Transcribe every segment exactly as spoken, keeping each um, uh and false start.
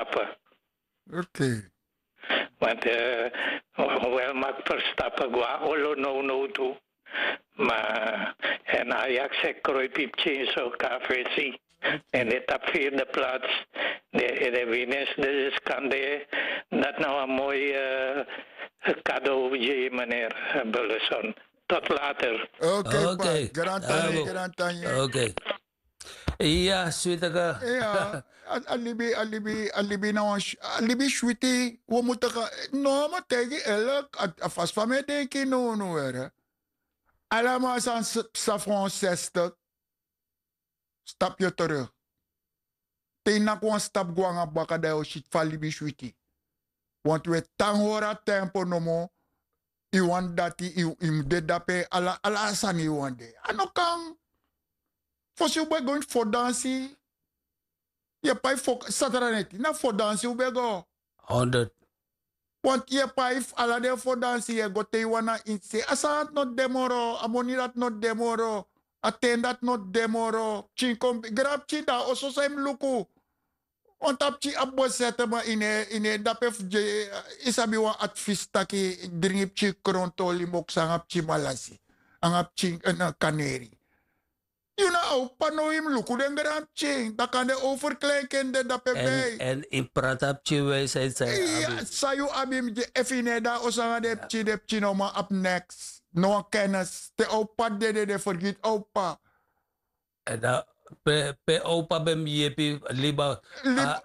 Verstappen. Oké. Want wel mag Verstappen gwa olo no no tu. Maar en Ajax e kroipi pikin so K V C. En dit op vierde plaats. De, de winst dus kan de dat nou een mooi cadeau je meneer Bulleson. Tot later. Oké, oké. Grantani, grantani. Oké. Ya, switaka. Ya, a libi, a libi, a libi na wan, a libi switi. We moeten gaan, no, maar tegen eerlijk, a fast van mij denk je no, no, hè. Allemaal zijn sa voor ons zestig. Stap yu terug. Te yu naki wan stap go nanga baka dan yu o si fa libi switi. Want wi e tan hori a tempo nomo. Yu wani dati, yu mus de dape. Ala a sani yu wani de. A no kan. Fosi un ben go ini fo dansi. Yu e pai fo satara neti na fo dansi un ben go. Honderd. Want yu e pai fu ala den fo dansi yu e go te yu wan na ini se a sani dati no de moro, a moni dati no de moro, a ten dati no de moro. Pikin kon gran pikin dan a oso san yu mus luku. Wan tapu pikin abi bosete ma yu no e dape fu gi yu sabi wan advis taki dringi pikin krontoli moksu nanga pikin malasi nanga pikin kaneri. Yu na a opa no yu mus luku den gran pikin dan kan den overkleinkinderi dape. Bei en yu prati a pikin wijsheid san yu abi. San yu abi mus gi efu yu no e de na oso nanga den pikin den pikin no man abi neks. No wan kennis te a opa dede den fergiti a opa. En dan pe a opa ben mus yepi libi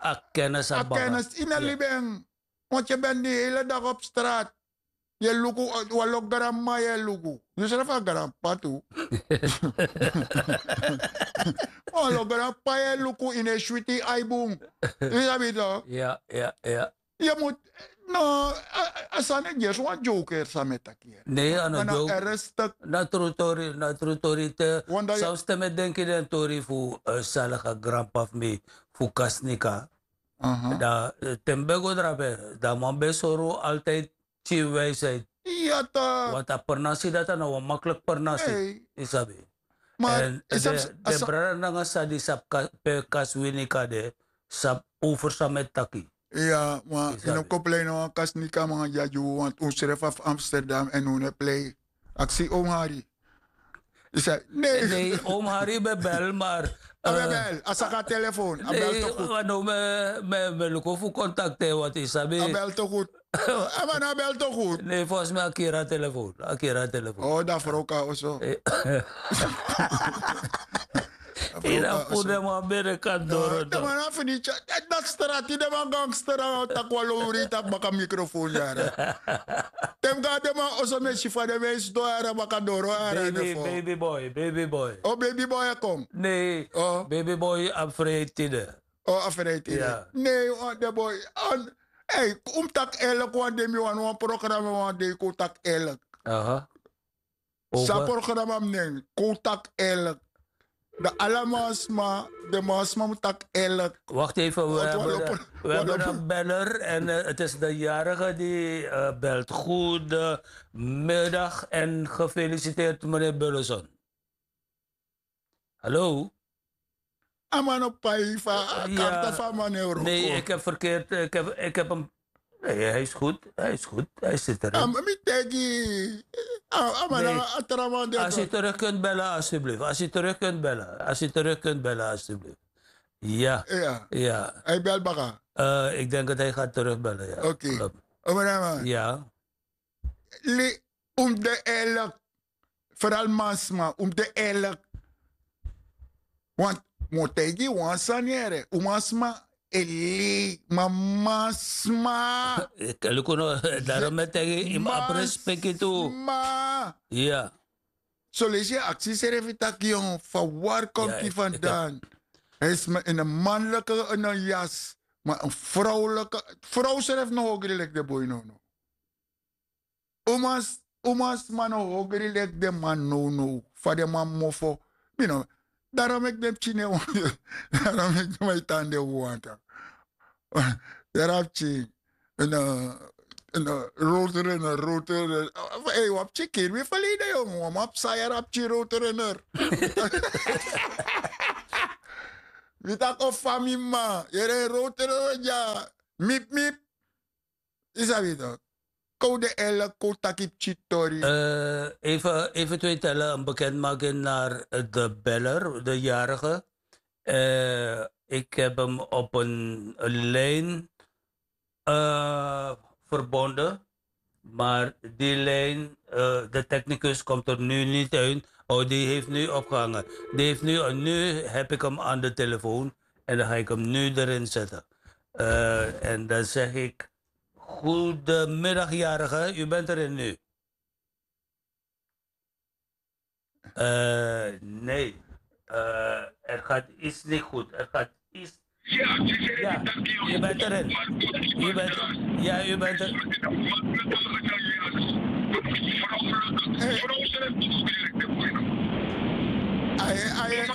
a kennis a baka. Yu no libi en. Want yu ben di hele dag op strat. Yu e luku wan lo granmama yu e luku. Yu srefi a granpapa tu. Wan lo granpapa yu e luku yu no e switi yu ai bun. Yu sabi tok? Yu mus no. A sani gersi wan joker san mi e taki. Nei a no joke. Na tru tori na tru tori te. San sten mi e denki den tori fu saliga granpapa fu mi fu kasnika. Dan te mi ben go drape dan man ben sori un altijdi. Pikin wijsheid. Wantu a pernasi dati a na wan makliki pernasi. Yu sabi? Èn den brada nanga sisa di sabi pe kasi wini kade sabi over san mi e taki. Iya ma yu no kon plei na wan kasi nika man dya gi unu wantu un srefi na fu amsterdam èn un no e plei. Aksi omi hari. Yu sabi? Nei. Omi hari ben bel mar a ben bel a saka a telefon a bel to gudu. No mi e luku fu kontakte wantu yu sabi a bel to gudu. A man no a bel to gudu. Nei fosi mi a kiri a telefon a kiri a telefon. Dan frow kan oso. Yu na puru den man bere kan doro. Den man na fini tyari dati strati den man gangster nanga o taki wan lowri yu tapu baka mikrofon yara. Te mi go na den man oso mi e si fa den man e sidon yara baka doro yara. Baby boy baby boy. O baby boy e kon. Nei. Baby boy abi freiti de. O a freiti de. Nei wan den boy. Ei un mus taki erlik wan dei mi wani wan programa wan dei kon un taki erlik. San programa mi nen kon un taki erlik. Dan ala man sma den man sma mus taki erlik. Wakti efen. We hebben een beller en het is de jarige die belt goede middag en gefeliciteerd meneer bulleson. Hallo. A man no pai fu a karta fu a man na europa. Nei ik heb verkeerd ik heb hem. Nei hij is goed hij is goed hij zit er. Mi teki a man na a tra man de. Als u terug kunt bellen alstublieft als u terug kunt bellen als u terug kunt bellen alstublieft. Ya. Ya. Hij bel baka. Ik denk dat hij gaat terug bellen ya. Oké. Oké. Ya. Li un mus de eerlik. Feral mansma un mus de eerlik. Want mi o taigi yu wan sani yere un mansma e lei ma mansma. Luku no. Darom mi e taigi yu yu mus abi respeki tu. Ma ya. Soleisi yu e aksi yusrefi tak' yon fa wari kon gi fandan? Hij is ma ini en manlike ini en yas. Ma en frowlike frow srefi no hogri leki den boi nownow. Un man sma no hogri leki den man nownow fa den man mofo. Mi no. Daro meki den pikin ne wani daro meki den man e tan den wanta. Daro a pikin. Rotor en rotor en. Wan pikin kiri mi fali den yongu wan man psa yara a pikin rotor en. Mi taki o fa mi mama yere en row tron no dya. Mip mip. Yu sabi tok? Kon un de elek kon un taki pikin tori. Even twee tellen en bekendmaking naar de beller de jarige. Ik heb hem op een lijn verbonden. Maar die lijn, de technicus komt er nu niet uit. Oh, die heeft nu opgehangen. Die heeft nu, nu heb ik hem aan de telefoon. En dan ga ik hem nu erin zetten. En dan zeg ik: goedemiddag, jarige, u bent erin nu. Nee, het gaat iets niet goed. Het gaat iets. Ja, u bent erin. U bent, ja, u bent er. Aye, aye,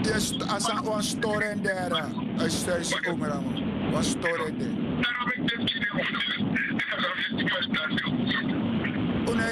yes, asa wan storen dera. Asa isi omeraman wan storen dera. Una